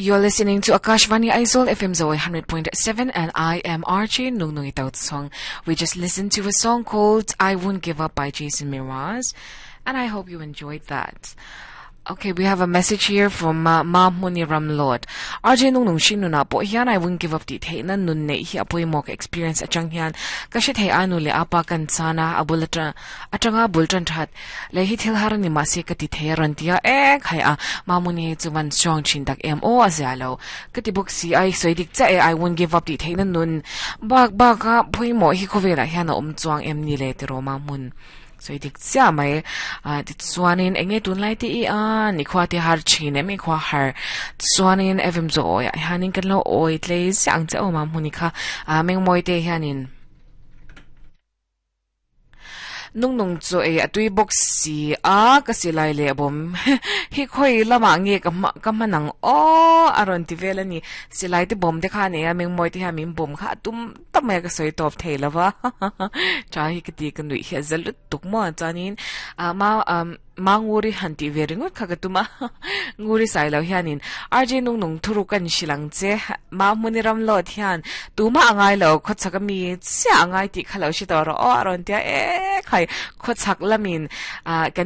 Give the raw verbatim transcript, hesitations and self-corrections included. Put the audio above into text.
You're listening to Akashvani Aizawl F M Zoe one hundred point seven and I am R J Nungnungi Tochhawng. We just listened to a song called I Won't Give Up by Jason Mraz, and I hope you enjoyed that. Okay, we have a message here from uh, Ma Muni Ramlord. R J Nungnung Shinu na po hian I won't give up ti thei na nun nei hi apoi mok experience achang hian ka she thei anu le apa kan chana abulatra atanga bultran that le hi thil har ni ma se ka ti thei ran tia e khai a Ma Muni chuan strong chin tak em o azalo ka ti book si ai soi dik cha e I won't give up ti thei na nun bak bak ka phoi mo hi khovela hian om chuang em ni le ti ro Ma Mun so dik cha mai a ti chuanin enge tun lai ti i a ni khwa ti har chin em i khwa har chuanin evim zo ya hanin kan lo oi tle sang cha o ma muni kha a meng moi te hianin nung nung chu e atui box si a ka silai le bom hi khoi lama nge ka ka manang o aron ti velani silai te bom te kha ne a meng moi te ha min bom kha tum tamai ka soi top theilawa cha hi ka ti ka nui hi zalut tuk mo chanin a ma ma nguri hanti veringut kha ka tuma nguri sai lo hianin R J nung nung thuru kan silang che ma muniram lo thian tuma angai lo khochaka mi cha angai ti khalo si to ro o aron tia e khai khochak lamin a kan